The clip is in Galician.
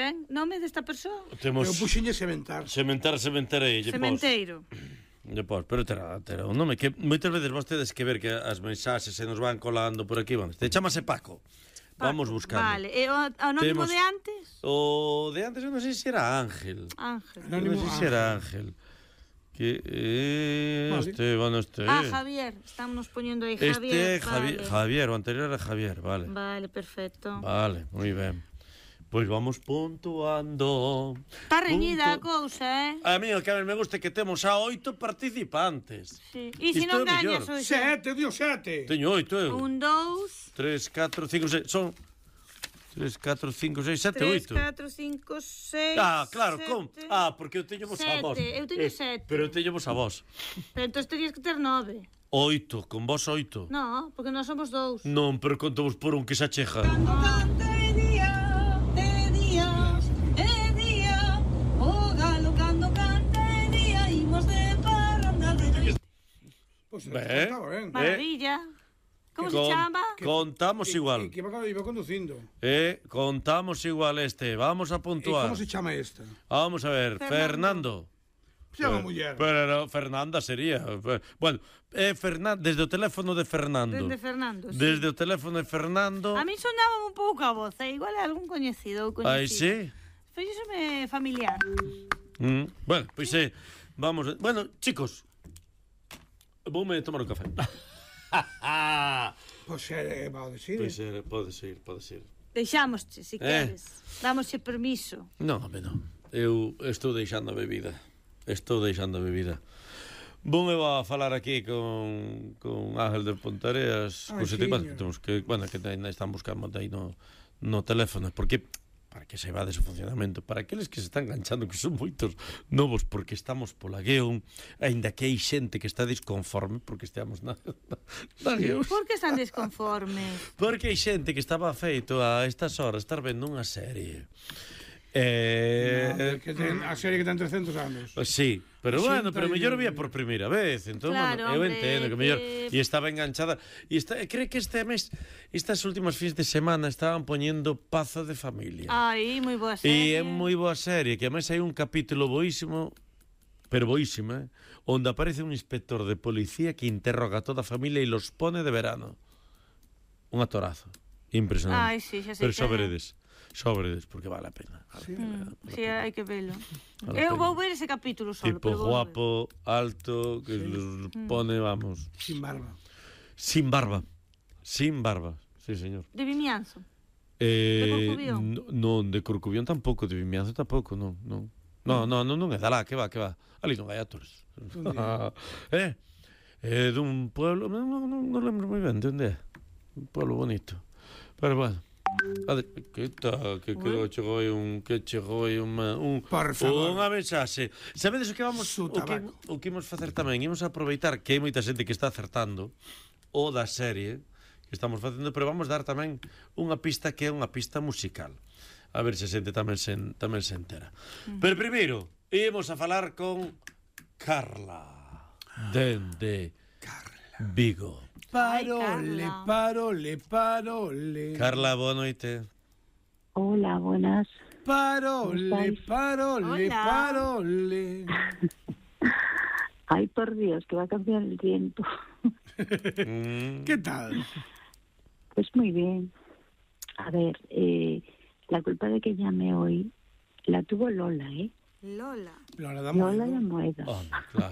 ben? Nome desta persoa? Temos Eu puxenlle sementar. sementarei. Sementeiro. Depois, pero terá un nome que moitas veces vos tedes que ver que as mensaxes se nos van colando por aquí. Te chamase Paco. Vamos buscando. Vale, e o anónimo de antes? O de antes eu non sei se era Ángel. Anónimo Non sei se era Ángel. Que Javier, estamos poniendo aí Javier. Javier, o anterior era Javier, vale. Vale, perfecto. Vale, moi ben. Pois vamos puntuando. Está reñida a cousa, A mí o que a me gusta é que temos a 8 participantes. Sí. E se non gañas hoxe? 7, dio 7. Teño 8, eu. 1, 2... 3, 4, 5, 6, son 3, 4, 5, 6, 7, 8. 3, 4, 5, 6... Claro, com. Porque eu teño vos a vos. Eu teño 7. Pero eu teño vos a vos. Pero entón terías que ter 9. 8, con vos 8. No, porque nós somos 2. Non, pero conto vos por un que se acheja. Ben. Maravilla. Como se chama? Contamos igual. Que iba conducindo. Contamos igual Vamos a puntuar. Como se chama esta? Vamos a ver, Fernando. Chama muller. Pero Fernanda sería. Bueno, desde o teléfono de Fernando. Desde Fernando, sí. Desde o teléfono de Fernando. A mí sonaba un pouco a voz, igual é algún coñecido ou coñecida. Aí sí. Fíxome familiar. Bueno, pois vamos. Bueno, chicos, voume tomar un café. Pois pode ser. Pode ser. Deixámosche, se queres. Dámosche permiso. Non, home, non. Eu estou deixando a bebida. Voume a falar aquí con Ángel de Pontareas. Que temos que, que ainda están buscando aí no teléfono. Porque para que se vade o funcionamento, para aqueles que se están enganchando, que son moitos novos, porque estamos pola Gueón, aínda que hai xente que está disconforme porque esteamos na Gueón. Por que están disconformes? Porque hai xente que estaba feito a estas horas estar vendo unha serie. Que ten a serie que ten 300 anos. Sí, pero pero mellor vía por primeira vez, entón, claro, eu entendo que mellor e estaba enganchada e creo que este mes, estas últimas fins de semana estaban poñendo Pazo de Familia. Ai, moi boa serie. E é moi boa serie, que además hai un capítulo boísimo, pero boísimo, onde aparece un inspector de policía que interroga a toda a familia e los pone de verano. Un atorazo. Impresionante. Ai, sí, xa sei. Pero Sóbredes, porque vale a pena. Sí, hai que velo. Eu vou ver ese capítulo solo. Tipo guapo, alto, que los pone, vamos. Sin barba. Sin barba, sí, señor. De Vimianzo? De Corcubión? Non, de Corcubión tampouco, de Vimianzo tampouco, non. Non é da lá, que va. Ali non hai actores. Dun pueblo, non lembro moi ben de onde é. Un pueblo bonito. Pero bueno. Que chegou aí unha mensaxe. Sabedes o que vamos o que imos facer tamén? Imos aproveitar que hai moita xente que está acertando o da serie que estamos facendo, pero vamos dar tamén unha pista que é unha pista musical. A ver se a xente tamén se entera. Pero primeiro, imos a falar con Carla dende Vigo. Parole. Carla, boa noite. Hola, buenas. Parole. Ay, por Dios, que va a cambiar el tiempo. ¿Qué tal? Pues muy bien. A ver, la culpa de que llame hoy la tuvo Lola, ¿eh? Lola de Moedo. Oh, claro.